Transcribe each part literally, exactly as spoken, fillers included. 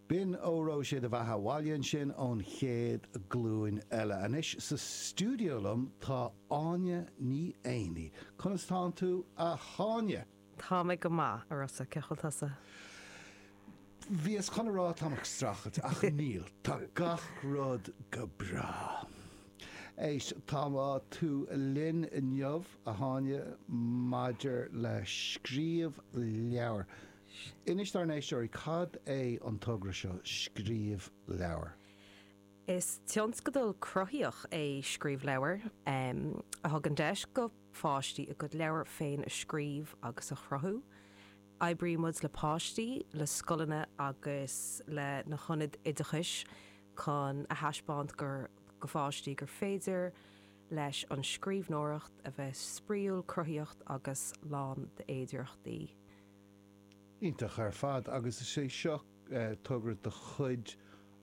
B'in Óró Sé do Bheatha 'Bhaile ansin ón Chéad Ghlúin Eile. Anois sa stiúideo liom tá Áine Ní Éanaí. Conas tánn tú, a Áine? Tá mé go maith, a Rossa, cén chaoi a bhfuil tusa? Bhíos chun a rá táim ag streachailt, ach níl. Tá gach rud go breá. Éist, tá tú linn inniu, a Áine, maidir le Scríobh Leabhar. Inis dár n-éisteoirí cad é an togra seo, Scríobh Leabhar. Is tionscadal cruthaíoch é Scríobh Leabhar a thugann deis go pháistí a gcuid leabhar féin a scríobh agus a chruthú. Oibríonn muid le páistí, le scoileanna agus le na hionaid oideachais chun a thaispeáint gur go pháistí gur féidir leis an scríbhneoireacht a bheith spraíúil, cruthaíoch agus lán d'fhéidearthachtaí. Iontach ar fad, agus is é seo togra de chuid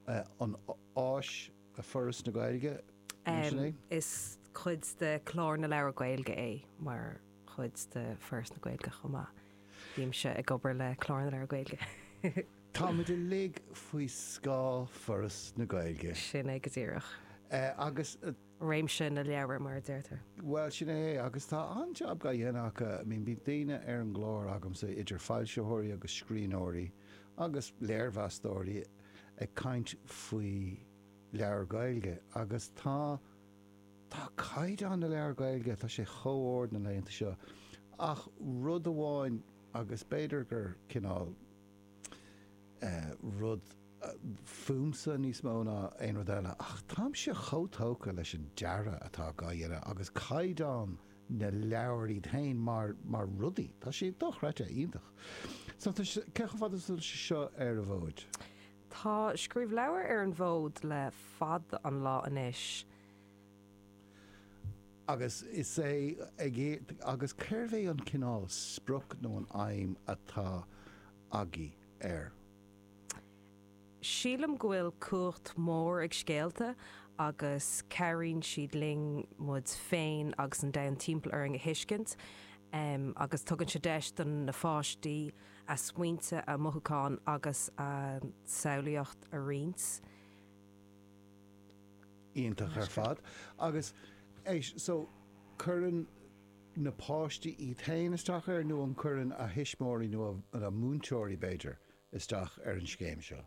an Áis, Foras na Gaeilge, sin é? Is cuid de Clár na Leabhar Gaeilge é mar chuid de Foras na Gaeilge chomh maith. Bímse ag obair le Clár na Leabhar Gaeilge. Táimid uilig faoi scáth Foras na Gaeilge. Sin é go díreach. Agus. Réimse na leabhar, mar a deirtear. Bhuel, sin é, agus tá an-jab á dhéanamh acu. I mean, bíonn daoine ar an gclár agamsa, idir foilsitheoirí agus scríbhneoirí agus léirmheastóirí ag caint faoi leabhar Gaeilge agus tá, tá caighdeán na leabhar Gaeilge, tá sé chomh ard na laethanta seo. Ach rud amháin, agus b'fhéidir gur cineál eh, rud fúmsa níos mó ná aon rud eile, ach táimse chomh tógtha leis an dearadh atá á dhéanamh agus caighdeán na leabhar iad féin mar, mar rudaí. Tá sé dochreidte iontach. So tá sé, cé chomh fada is atá sé seo ar an bhfód? Tá Scríobh Leabhar ar an bhfód le fada an lá anois. Agus is é ag, agus cérbh é an cineál sprioc nó an aidhm atá agaibh air? Sílim go bhfuil cumhacht mhór ag scéalta agus cabhraíonn siad linn muid féin agus an domhan timpeall orainn a thuiscint agus tugann sé deis do na pháistí a smaointe, a mothúcháin agus a samhlaíocht a roinnt. Iontach ar fad. Agus éist, so cuireann na páistí iad féin isteach air nó an cuireann a thuismitheoirí nó a múinteoirí b'fhéidir isteach ar an scéim seo?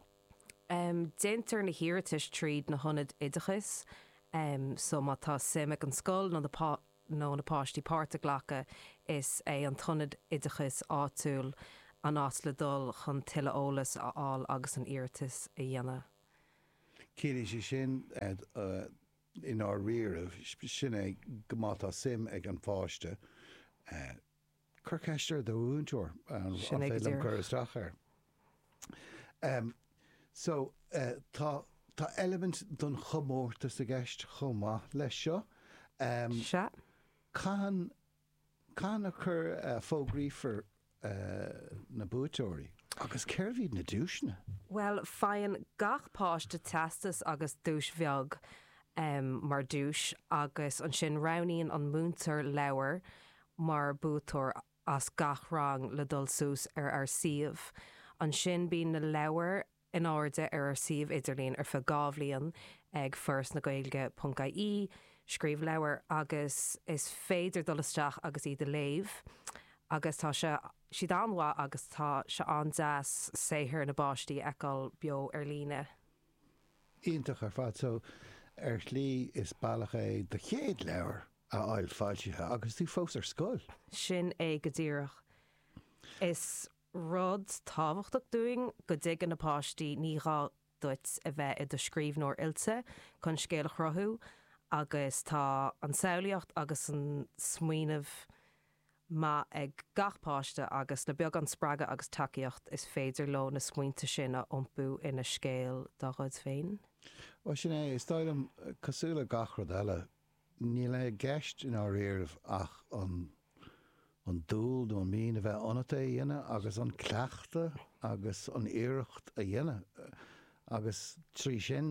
Um, déantar na hiarratais tríd na hionaid oideachais, um, so má tá suim ag an scoil nó na nó na páistí páirt a ghlacadh is é an t-ionad oideachais áitiúil an áit le dul chun tuilleadh eolas a fháil agus an iarratas a dhéanamh. Ciallaíonn sé sin i ndáiríre, sin é go má tá suim ag an pháiste, cuir ceist ar do mhúinteoir an Sin é go féidir liom cur díreach. isteach air. Um, so uh, tá tá eilimint don chomórtas i gceist chomh maith leis seo. Um, Sea. Cathain cathain a chur uh, fógraífear uh, na buaiteoirí agus cérbh iad na duaiseanna? Well, faigheann gach páiste teastas agus duais bheag um, mar duais agus ansin roghnaíonn an múinteoir leabhar mar buaiteoir as gach rang le dul suas ar ár suíomh. Ansin bíonn na leabhair in airde ar ár suíomh idirlín ar feadh dhá bhliain ag forasnagaeilge ponc ie, scríobh leabhar agus is féidir dul isteach agus iad a léamh agus tá sé siad an-mhaith agus tá sé an-deas saothar na bpáistí a fheiceáil beo ar líne. Iontach ar fad so ar shlí is bealach é do chéad leabhar a fháil foilsithe agus tú fós ar scoil. Sin é go díreach. Is rud tábhachtach dúinn go dtuigeann na páistí ní gá duit a bheith i do scríbhneoir oilte chun scéal a chruthú agus tá an samhlaíocht agus an smaoineamh maith ag gach páiste agus le beagán spreagadh agus tacaíocht is féidir leo na smaointe sin a iompú ina scéal dá gcuid féin. Well sin é, is dóigh liom, cosúil le gach rud eile, níl i gceist i ndáiríribh ach an an dúil nó an mian a bheith ionat é a dhéanamh agus an cleachtadh agus an iarracht a dhéanamh agus trí sin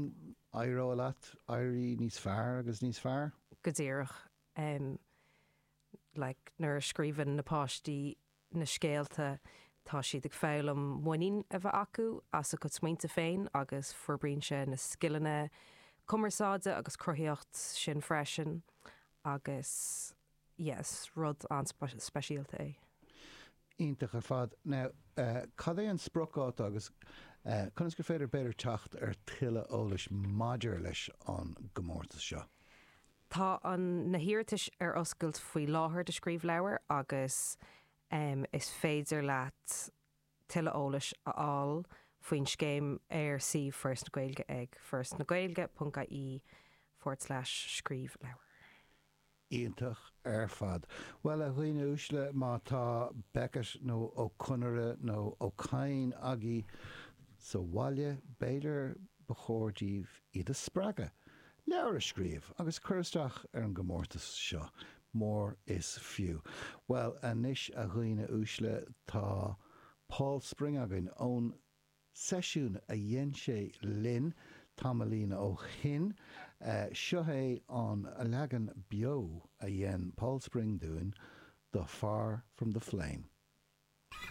éireoidh leat éirí níos fearr agus níos fearr. Go díreach. Like nuair a scríobhann na páistí na scéalta Tá siad ag foghlaim muinín a bheith acu as a gcuid smaointe féin agus forbraíonn sé na scileanna cumarsáide agus cruthaíocht sin freisin agus yes, rud an-speisialta é. Iontach ar fad. Now, uh, cad é an spriocdháta agus uh, conas gur féidir b'fhéidir teacht ar tuilleadh eolais maidir leis an gcomórtas seo? Tá an na hiarratais ar oscailt faoi láthair do Scríobh Leabhar agus um, is féidir leat tuilleadh eolais a fháil faoin scéim ar suíomh Foras na Gaeilge ag forasnagaeilge.ie forward slash scríobh leabhar. Iontach ar fad. Well a dhaoine uaisle má tá Beckett nó Ó Conaire nó Ó Cadhain agaibh sa bhaile b'fhéidir ba chóir daoibh iad a spreagadh. Leabhar a scríobh agus cur isteach ar an gcomórtas seo mór is fiú. Well anois a dhaoine uaisle tá Paul Spring againn ón seisiún a dhein sé linn tamaillín ó shin. Uh, seo é an leagan beo a dhein Paul Spring dúinn, The Far From the Flame.